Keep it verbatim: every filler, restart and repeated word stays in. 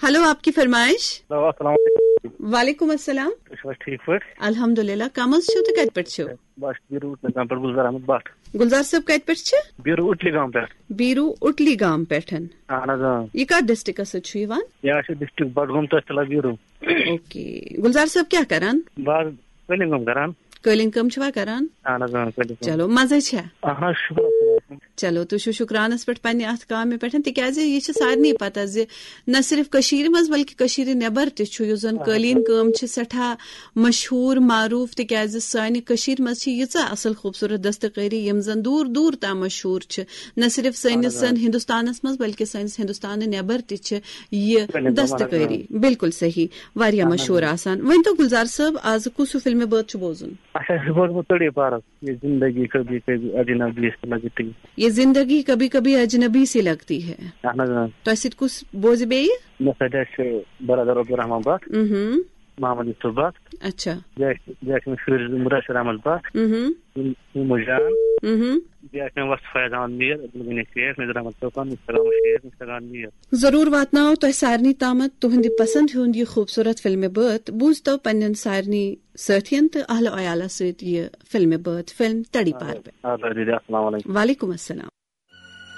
Hello, آپ کی فرمائش۔ Hello, السلام علیکم۔ وعلیکم السلام۔ تُہۍ چھِو حظ ٹھیٖک پٲٹھۍ؟ الحمدللہ، کم حظ چھِو تہٕ کَتہِ پٮ۪ٹھ چھِو؟ بس بیٖروٗ اُٹلی گام پٮ۪ٹھ، گُلزار احمد بٹ۔ گُلزار صٲب، کَتہِ پٮ۪ٹھ چھِ؟ بیٖروٗ اُٹلی گام پٮ۪ٹھ۔ بیٖروٗ اُٹلی گام پٮ۪ٹھ۔ اہن حظ، اۭں۔ یہِ کَتھ ڈسٹرکس سۭتۍ چھُ یِوان؟ یہِ حظ چھُ ڈسٹرکٹ بڈگوم، تحصیل بیٖروٗ۔ اوکے، گُلزار صٲب کیٛاہ کران؟ بہٕ حظ قٲلیٖن کٲم کران۔ قٲلیٖن کٲم چھِوا کران؟ اہن حظ، اۭں، قٲلیٖن کٲم۔ چلو، مزے چھا؟ اہن حظ، شُکر رۄبَس کُن۔ چلو، تُہۍ چھِو شُکرانَس پٮ۪ٹھ پننہِ اَتھ کامہِ پٮ۪ٹھ، تِکیٛازِ یہِ چھِ سارنٕے پَتہ زِ نہ صرف کٔشیٖرِ منٛز بلکہِ کٔشیٖرِ نٮ۪بر تہِ چھُ، یُس زَن اہن حظ۔ قٲلیٖن کٲم چھِ سٮ۪ٹھاہ مشہوٗر معروٗف، تِکیٛازِ سانہِ کٔشیٖرِ منٛز چھِ ییٖژاہ اَصٕل خوٗبصوٗرت دستکٲری، یِم زَن دوٗر دوٗر تام مشہوٗر چھِ، نہ صرف اہن حظ، سٲنِس آ۔ ہِندُستانَس منٛز بلکہِ سٲنِس ہِندُستانہٕ نٮ۪بر تہِ چھِ یہِ اہن حظ، آ۔ دستکٲری۔ بالکل صحیح، واریاہ اہن حظ، مشہوٗر آ۔ آسان۔ ؤنۍ تو گُلزار صٲب، آز کُس ہیوٗ فِلمہِ بٲتھ چھُ بوزُن؟ اچھا، یہِ بوزمُت تٔڑی پارس، یہ زندگی کبھی کبھی اجنبی سی لگتی۔ یہ زندگی کبھی کبھی اجنبی سی لگتی ہے۔ اہن حظ، آ۔ تۄہہِ سۭتۍ کُس بوزِ بیٚیہِ؟ مےٚ سۭتۍ آسہِ برادر عبدالرحمان بٹ، اہم۔ محمد یوسف بٹ۔ اچھا۔ بیٚیہِ آسہِ، بیٚیہِ آسہِ مےٚ شُرۍ زٕ مدثر احمد بٹ، اہم۔ یِم، یِم جان۔ اہم۔ بیٚیہِ آسہِ مےٚ وۄستہٕ فیض احمد میر، عبدالغنی شیخ، نذیر احمد چوپان، مشتاق احمد شیخ، مشتاق احمد میر۔ ضروٗر واتناو تۄہہِ سارنٕے تامَتھ تُہٕنٛدِ پسنٛد ہُنٛد یہِ خوٗبصوٗرت فِلمہِ بٲتھ۔ بوٗزتو پننٮ۪ن سارنٕے سٲتھین تہٕ اہل و عیالس سۭتۍ یہِ فِلمہِ بٲتھ، فِلم تڑی پار۔ آ، آ، دیدی، السلام علیکم۔ وعلیکم السلام۔